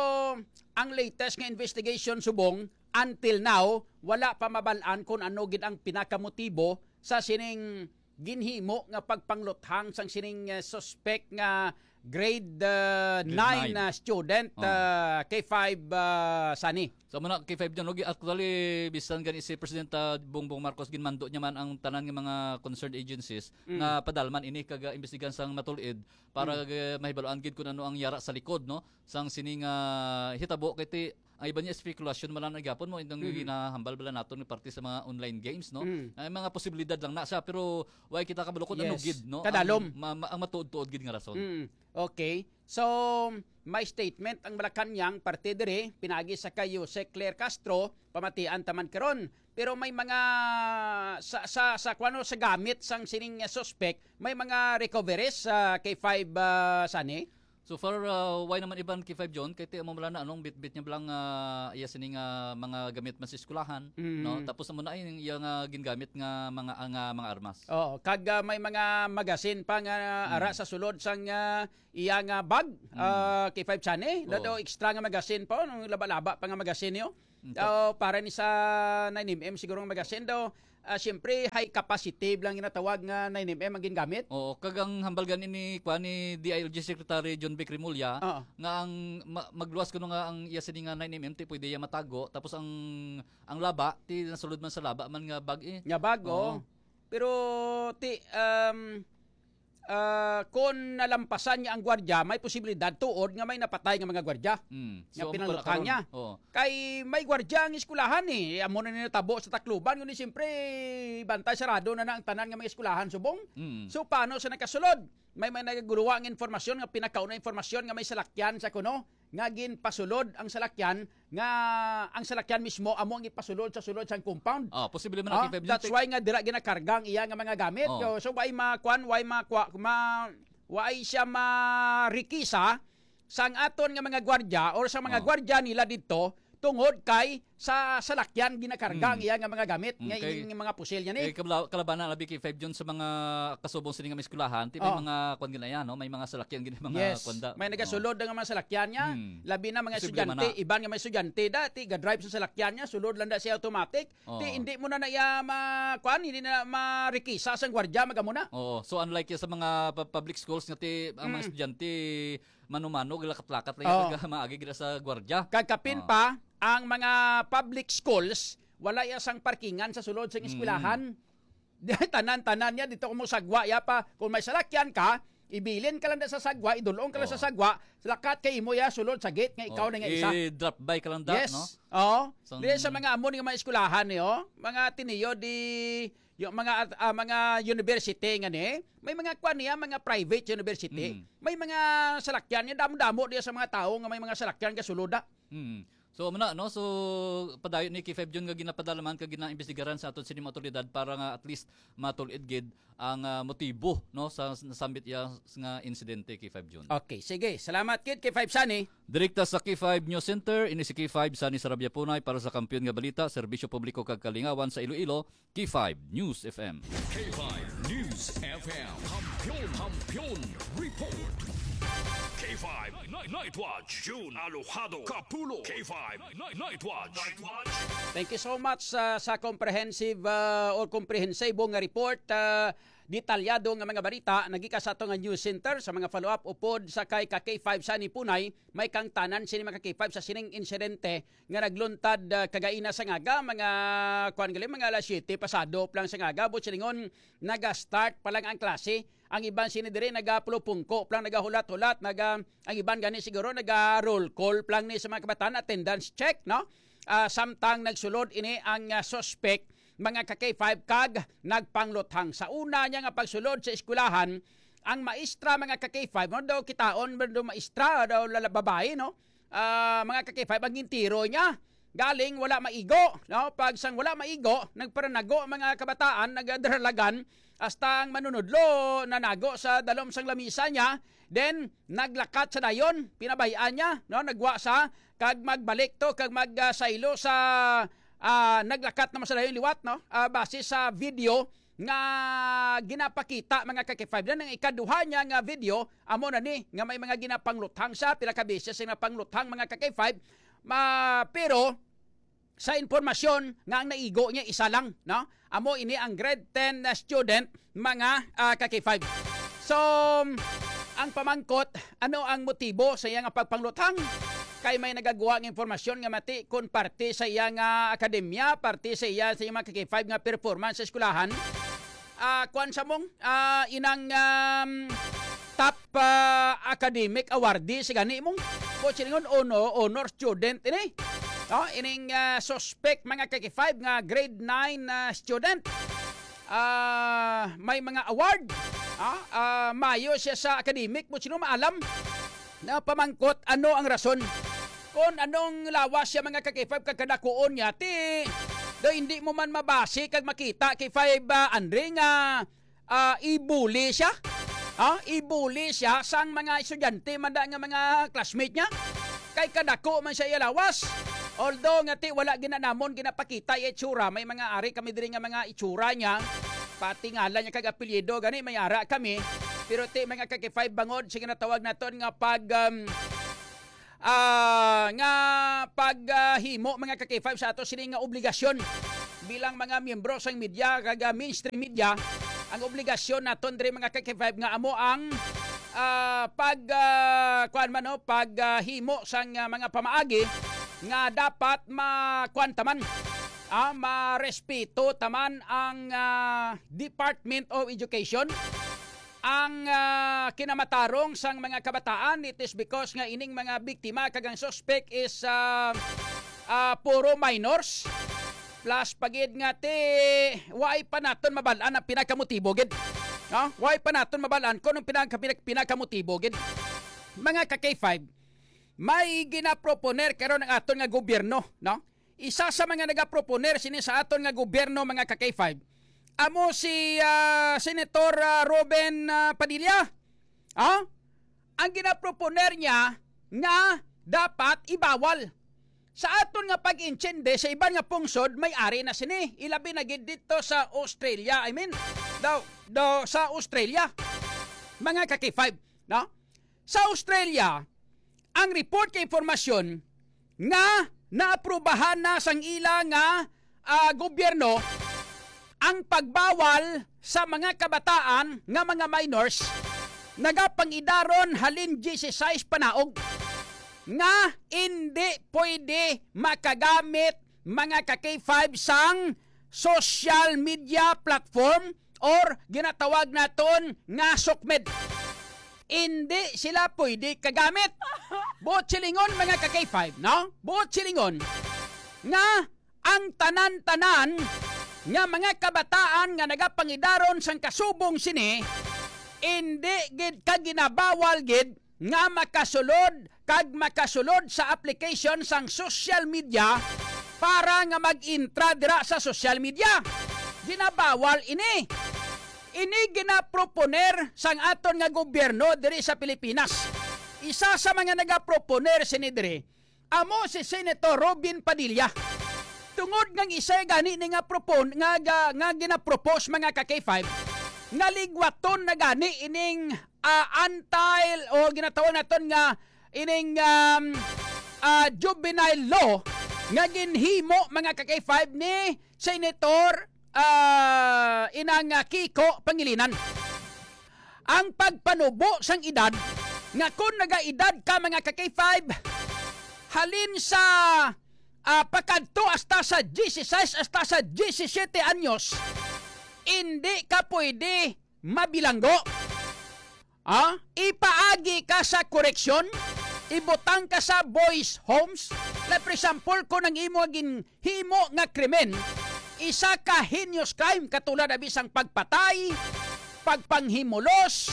ang latest nga investigation subong, until now, wala pa mabal-an kung ano gid ang pinakamotibo sa sining ginhimo nga pagpangluthang sang sining, eh, suspek nga grade, ah, Grade nine nine. na student, Oh. ah, K five, ah, Sunny. So, muna, K five John, okay, actually, bisan gani si Presidente Bongbong Marcos, ginmando niya man ang tanan nga mga concerned agencies Mm. nga padalman ini kag, ah, imbestigahan sang matulid para, Mm. ah, mahibaluan gid kung ano ang yara sa likod, no? Sang sining, ah, hitabo, kay ti, ang iba niya spekulasyon man lang gihapon mo, itong Mhm. ginahambal bala naton nga parte sa mga online games, no? Mm. Ay, mga posibilidad lang na siya, pero wala kita kabalo kung ano Yes. gid, no? Kadalom. Ang ma-, ma-, ang matuod-tuod gid nga rason. Mm. Okay. So, may statement ang Malacañang parte diri, pinagi sa kay Jose Claire Castro, pamatian taman karon. Pero may mga sa, sa, sa kuno sa gamit sang sining suspect, may mga recoveries sa K five, ah, Sunny? So far, ah, why naman iban K five John? Kay ti amo lang na anong bitbit niya lang, ah, iya sining, ah, mga gamit man sa eskwelahan, Mm. no? Tapos amo na yung iya nga gingamit nga mga, ah, nga mga armas. Oo, kag, ah, may mga magasin pa nga ara Mm. sa sulod sang, ah, iya nga bag, Mm. ah, K five Sunny. Oo. Daw extra nga magasin pa, nung laba-laba pa nga magasin niyo. Mm, Oh, para ni sa nine M M siguro nga magasin daw. Ah, siyempre, high capacity lang ginatawag nga nine M M ang gingamit. Oo, kag ang hambal gani ni, kuan, ni D I L G Secretary John Vic Remulla Oo. nga ang ma-, magluwas kuno nga ang iya sini nga nine M M ti pwede iya matago, tapos ang, ang laba ti nasulod man sa laba man nga bag, eh. Nga bag, Oo. oo. Pero ti, um, ah, kung nalampasan niya ang gwardiya, may posibilidad tuod nga may napatay nga mga gwardiya Mm. nga So, amo pala pinanglutang karon. niya. Oo. Kay may gwardiya ang eskwelahan, eh. Amo na ni natabo sa Tacloban, kundi siyempre, bantay sarado na na ang tanan nga mga eskwelahan subong. Mm. So, paano sa nakasulod? May, may nagaguluwa ang informasyon nga pinakauna informasyon nga may salakyan sa kuno nga ginpasulod ang salakyan, nga ang salakyan mismo amo ang ipasulod sa sulod sang compound. Ah, posible man Ah, ang K five that's John. why nga dira ginakarga ang iya nga mga gamit. Oh. So, so why ma-, kwan, why ma-, kwa-, ma-, why siya marikisa sang aton nga mga gwardya or sa mga Oh. gwardya nila didto tungod kay sa salakyan ginakarga ang Mm. iya nga mga gamit, Mm, nga kay, ining mga pusil niya ni. kay kabla-, kalabanan labi kay Five John sa mga kasubong sini nga may eskwelahan, ti may Oh. mga kwan gina yan, no? May mga salakyan gina mga Yes. kwanda. May Oh. nagasulod nga mga salakyan niya, Hmm. labi na mga Posible man estudyante, na. iban nga mga estudyante, dati ga-drive sa salakyan niya, sulod lang na siya automatic. Oh. Ti hindi mo na na iya ma-, kwan, hindi na marikisa sang gwardya, magamo na. Oo. So, unlike ya sa mga pu-, public schools nga ti, ang mga Mm. estudyante, mano-mano, lakat-lakat lang Oh. yung pag-, maagi gila sa gwardya. Kag kapin Oh. pa, ang mga public schools, wala ya sang parkingan sa sulod sa Mm. eskwelahan. Tanan-tanan niya, dito ko mo sagwa ya pa. Kung may salakyan ka, ibilin ka lang da sa sagwa, idulong ka lang sa Oo. sagwa, lakat kay imo ya sulod sa gate nga ikaw Oh, na nga isa. i-drop by ka lang da, Yes. no? Oo. Sang Dili sa mga amon nga mga eskwelahan, eh, oh. Mga tiniyo di, yung mga, ah, mga university nga ni, may mga kwan niya, mga private university. Mm. May mga salakyan niya, damo-damo diya sa mga tao nga may mga salakyan nga sulod, ah. Mm. So, amo na, no? So, padayon ni K five Jun nga ginapadalaman kag ginaimbestigaran sa aton sining mga awtoridad para nga at least matul-id gid ang, ah, motibo, no, sa nasambit iya nga insidente, K five Jun. Okay, sige. Salamat gid, K five Sunny. Direkta sa K five News Center, ini si K five Sunny Sarabia Punay para sa Kampiyon nga Balita, Serbisyo Publiko kag Kalingawan sa Iloilo, K five News F M. K five News F M. Kampiyon, Kampiyon Report. K five Night, Night Watch. June Alojado Kapulo. K five Night, Night Watch. Night Watch. Thank you so much, ah, sa comprehensive, ah, or komprehensibong nga report, ah, detalyado nga mga balita, nagika sa ato nga news center. Sa mga follow-up upod sa kay ka K five Sunny Punay, may kangtanan sini mga ka K five sa sining insidente nga nagluntad, ah, kagaina sa ngaga, mga, kuwan gali, mga alas siyete pasado pa lang sa ngaga, but silingon, naga-start pa lang ang klase. Ang iban sini diri nagapulupungko pa lang, nagahulat-hulat, naga, ang iban gani siguro naga-roll call pa lang ni sa mga kabataan, attendance check, no? Ah, samtang nagsulod ini ang, ah, suspect, mga ka K five, kag nagpangluthang. Sa una niya nga pagsulod sa eskwelahan, ang maestra, mga ka K five, mo daw kitaon, mo daw maestra, daw lala-, babae, no? Ah, mga ka K five, ang gintiro niya. Galing wala maigo, no? Pag sang wala maigo, nagparanago ang mga kabataan, nagadaralagan, hasta ang manunudlo nanago sa dalom sang lamisa niya. Then, naglakat sa dayon, pinabay-an niya, no? Nagwa sa, kag magbalik to, kag mag, ah, saylo sa, ah, naglakat naman sa dayon liwat, no? Ah, base sa video, nga ginapakita, mga ka K five. Yan ang ikaduha niya nga video, amo na ni, nga may mga ginapangluthang siya, pila ka beses siya napangluthang, mga ka K five. Ma-, pero, sa impormasyon nga ang naigo niya isa lang, no? Amo ini ang grade ten na student, mga, ah, ka K five. So, Ang pamangkot, ano ang motibo sa iya nga pagpangluthang? Kay may nagagwa nga impormasyon nga mati kon parte sa iya nga akademya, parte sa iya sa iyang mga K five nga performance sa eskwelahan. Ah, kuwan sa mong, ah, inang, um, top, ah, academic awardee sa gani mong. Buot silingon, ono, honor student ini. No? Ining, ah, suspect, mga ka-K five, nga grade nine, ah, student. Ah, may mga award. Ah, ah, mayo siya sa academic, buot silingon, maalam na pamangkot ano ang rason. Kon anong lawas siya, mga ka-K five, kag kadakuon niya, ti, do hindi mo man mabasi kag makita, K five, ah, Andre, nga, ah, ibuli siya. Ah, ibuli siya sang mga estudyante, manda nga mga classmate niya. Kay kadako man siya iya lawas. Although nga ti wala ginanamon ginapakita iya itsura, may mga ari kami diri nga mga itsura niya. Pati ngalan niya kag apelyido gani may ara kami. Pero ti, mga ka-K five, bangod sa ginatawag naton nga pag, um, ah, nga pag, ah, himo, mga ka-K five, sa ato sini nga obligasyon bilang mga miyembro sang media kag, ah, mainstream media, ang obligasyon naton diri, mga ka-K five, nga amo ang, ah, pag, ah, kuwan man, no, pag, ah, himo sang, ah, mga pamaagi nga dapat ma-, kuwan taman, ah, marespeto taman ang, ah, Department of Education. Ang, ah, kinamatarong sang mga kabataan, it is because nga ining mga biktima kag ang suspect is, ah, ah, puro minors. Plus pagid nga ti, way pa naton mabal-an ang pinakamotibo gid. No? Way pa naton mabal-an kung anong pinaka-, pinaka-, pinakamotibo gid. Mga ka-K five, may ginaproponer karon ang aton nga gobyerno, no? Isa sa mga nagaproponer sini sa aton nga gobyerno, mga ka-K five, amo si, ah, Senator, ah, Robin, ah, Padilla. Ah? Ang ginaproponer niya nga dapat ibawal. Sa aton nga pag-intindi, sa iban nga pungsod, may ari na sini. Ilabi na gid dito sa Australia. I mean, daw, daw sa Australia. Mga ka-K five, no? Sa Australia, ang report kay impormasyon nga naaprubahan na sang ila nga, ah, gobyerno ang pagbawal sa mga kabataan nga mga minors nagapangidaron halin disisays panaog nga indi pwede makagamit, mga ka-K five, sang social media platform or ginatawag naton nga sukmed. Indi sila pwede kagamit. Buot silingon, mga ka-K five, no? Buot silingon nga ang tanan-tanan nga mga kabataan nga nagapangidaron sang kasubong sini, indi gid ka ginabawal gid nga makasulod kag makasulod sa application sang social media para nga mag-intra dira sa social media. Ginabawal ini. Ini ginaproponer sang aton nga gobyerno diri sa Pilipinas. Isa sa mga nagaproponer sini diri amo si Senator Robin Padilla. Tungod nga isa gani ni nga propon-, nga, nga, nga ginapropose, mga ka-K five, nga ligwaton na gani ining, ah, anti o ginatawag naton nga ining, um, ah, juvenile law nga ginhimo, mga ka-K five, ni Senator, ah, inang, ah, Kiko Pangilinan. Ang pagpanubo sang edad, nga kung nagaedad ka, mga ka-K five, halin sa, ah, pakadto hasta sa disisays hasta sa disisiyete anyos, indi ka pwede mabilanggo. Ah, ipaagi ka sa koreksyon, ibutang ka sa boys homes. Like, for example, kung ang imo ginhimo nga krimen, isa ka heinous crime, katulad na bisang pagpatay, pagpanghimulos,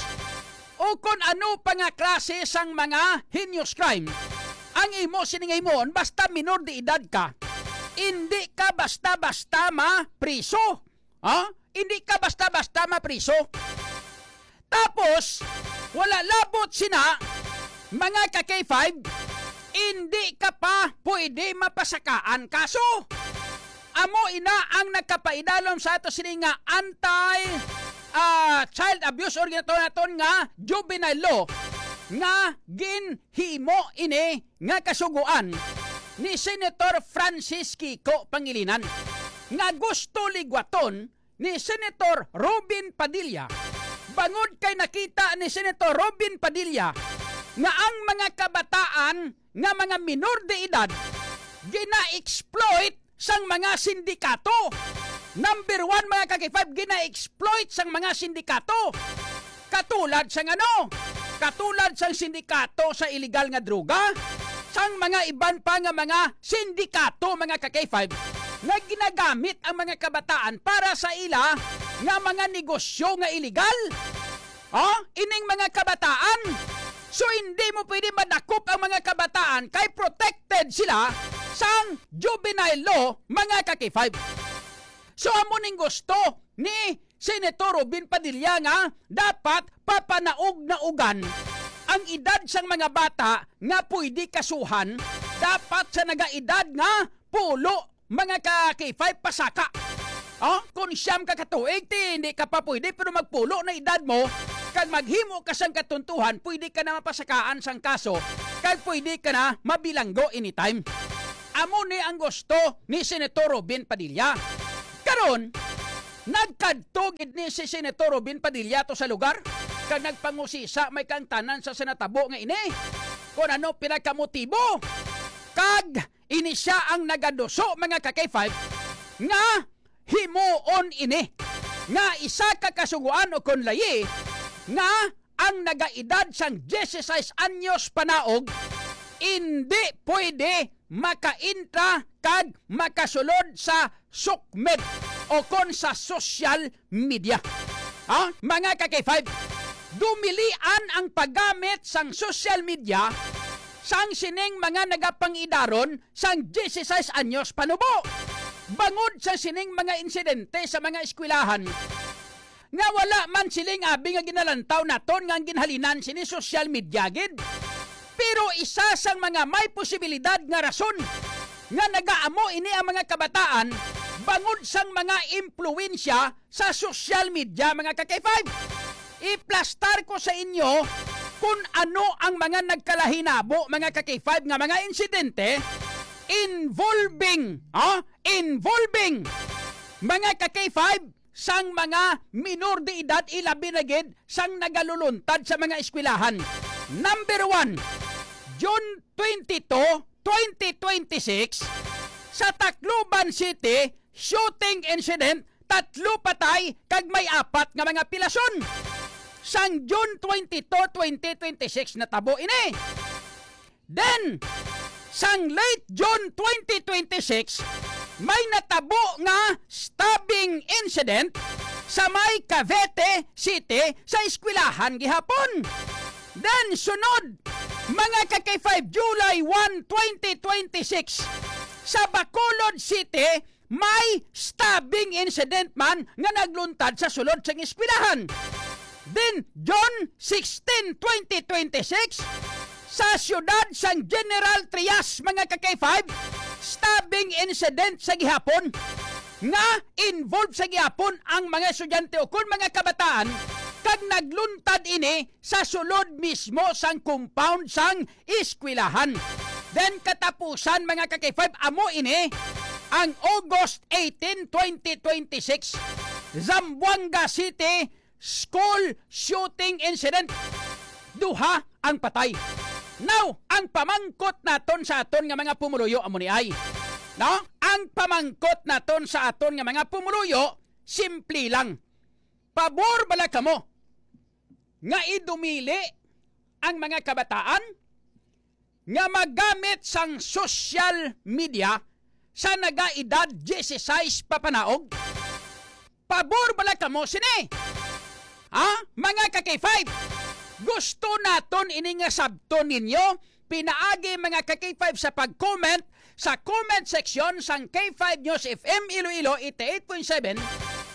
o kon ano pa nga klase sang mga heinous crime, ang imo sining himuon, basta minor de edad ka, indi ka basta-basta mapriso. Ha? Hindi ka basta-basta mapriso. Tapos, wala labot sina, mga ka-K five, hindi ka pa pwede mapasakaan kaso. Amo ina ang nagkapaidalom sa ato sini nga anti, ah, child abuse or ginatawag naton nga juvenile law nga ginhimo ini nga kasugoan ni Senator Francis Kiko Pangilinan nga gusto ligwaton ni Senator Robin Padilla Bangod kay nakita ni Senator Robin Padilla nga ang mga kabataan nga mga minor de edad gina-exploit sang mga sindikato. Number one, mga ka-K five, gina-exploit sang mga sindikato. Katulad sang ano? Katulad sang sindikato sa iligal nga droga, sang mga iban pa nga mga sindikato, mga ka-K five, nga ginagamit ang mga kabataan para sa ila nga mga negosyo nga iligal. Oh, ining mga kabataan. So, hindi mo pwede madakop ang mga kabataan kay protected sila sang juvenile law, mga ka-K five. So, amo ning gusto ni Senator Robin Padilla nga dapat papanaog-naogan ang edad sang mga bata nga pwede kasuhan, dapat sa nagaedad nga pulo, mga ka-K five, pasaka. Oh, kung siyam ka katuig, ti hindi ka pa pwede, pero magpulo na edad mo, kag maghimo ka sang katuntuhan, pwede ka na mapasakaan sang kaso, kag pwede ka na mabilanggo anytime. Amo ni ang gusto ni Senator Robin Padilla. Karon, nagkadto gid ni si Senator Robin Padilla to sa lugar, kag nagpangusisa may kaangtanan sa, sa natabo nga ini. Kung ano pila ka motibo, kag ini sia ang nagaduso, mga ka-K five, nga himuon ini nga isa ka kasugoan o kon layi nga ang nagaedad sang dieciséis anyos panaog indi pwede makaintra kag makasulod sa SOCMED o kon sa social media. Ha? Mga ka-K five, dumilian ang paggamit sang social media sang sining mga nagapangidaron sang dieciséis anyos panubo. Bangod sa sining mga insidente sa mga eskwelahan, nga wala man siling abi nga ginalantaw naton nga ang ginhalinan sini social media gid. Pero isa sang mga may posibilidad nga rason nga nagaamo ini ang mga kabataan bangod sang mga impluwensya sa social media, mga ka-K five. Iplastar ko sa inyo kung ano ang mga nagkalahinabo, mga ka-K five, nga mga insidente involving, ah, involving mga ka-K five sang mga minor de edad, ilabi na gid sang nagaluluntad sa mga eskwelahan. Number one, June twenty-two, twenty twenty-six, sa Tacloban City, shooting incident, tatlo patay kag may apat nga mga pilason. Sang June twenty-two, twenty twenty-six natabo ini. Then, sang late June twenty twenty-six, may natabo nga stabbing incident sa may Cavite City sa eskwelahan gihapon. Then, sunod, mga ka-K five, July one, twenty twenty-six, sa Bacolod City, may stabbing incident man nga nagluntad sa sulod sang eskwelahan. Then, June sixteen, twenty twenty-six, sa siyudad sang General Trias, mga ka-K five, stabbing incident sa gihapon nga involved sa gihapon ang mga estudyante o kon mga kabataan kag nagluntad ini sa sulod mismo sang compound sang eskwelahan. Then katapusan, mga ka-K five, amo ini ang August eighteen, twenty twenty-six, Zamboanga City school shooting incident. Duha ang patay. Now, ang pamangkot naton sa aton nga mga pumuluyo amo ni ay, no? Ang pamangkot naton sa aton nga mga pumuluyo, simple lang. Pabor bala kamo nga idumili ang mga kabataan nga maggamit sang social media sa nagaedad dieciséis papanaog? Pabor bala kamo sini? Ha? Mga ka-K five, gusto naton ini nga sabton ninyo pinaagi, mga ka-K five, sa pag-comment sa comment section sang K five News F M Iloilo eighty-eight point seven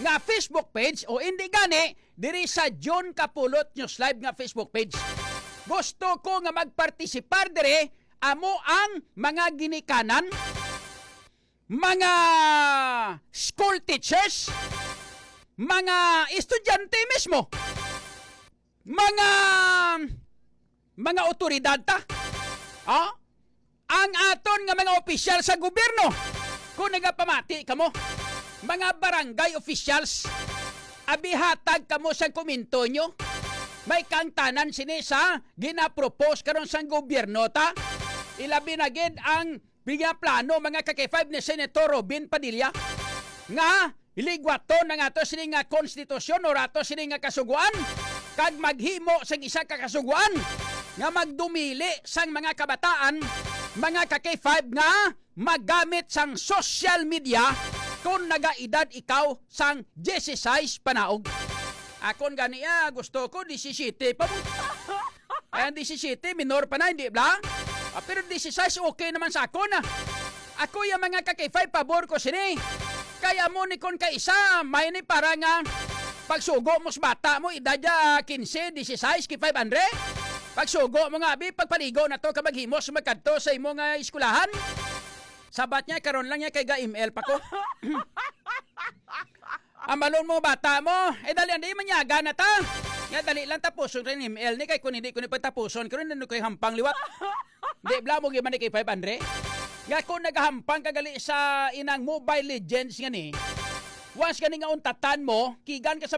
nga Facebook page, o indi gani diri sa John Kapulot News Live nga Facebook page. Gusto ko nga magpartisipar diri amo ang mga ginikanan, mga school teachers, mga estudyante mismo, mga, mga awtoridad ta. Ah? Ang aton nga mga opisyal sa gobyerno, kung nagapamati kamo, mga barangay officials, Abi, hatag kamo sang komento nyo. May kangtanan sini sa ginapropose karon sang gobyerno, ta? Ilabi na gid ang pinaplano, mga ka-K five, ni Senator Robin Padilla nga ligwaton ang ato sini nga konstitusyon o ato sini nga kasugoan kag maghimo sang isa ka kasugoan nga magdumili sang mga kabataan, mga ka-K five, nga magamit sang social media kon nagaedad ikaw sang disisays panaog. Akon gani, ah, gusto ko disisiyete pa mo. Ay, ang disisiyete, minor pa na, hindi bla? Ah, pero disisais, okay naman sa akon, ah. Ako, yung mga ka-K five, pabor ko sini. Kaya mo ni kon kaisa, may ni para nga pagsugo mo sa bata mo, edad ya quince, disisais, K five, Andre. Pagsugo mo nga, abi, pagpaligo na to, ka maghimos, magkadto sa imo nga eskwelahan. Sabat niya, karon lang niya kay ga M L pa ko. Ambalon mo bata mo. Eh, dali, andi, manyaga na ta. Nga, dali lang tapuson rin M L ni, kay kung hindi ko ni pagtapuson, karon ano ko'y hampang liwat. Di bla mo giman ni kay five hundred. Nga kung nagahampang ka gali sa inang Mobile Legends nga ni, once gani nga untatan mo, kigan ka sa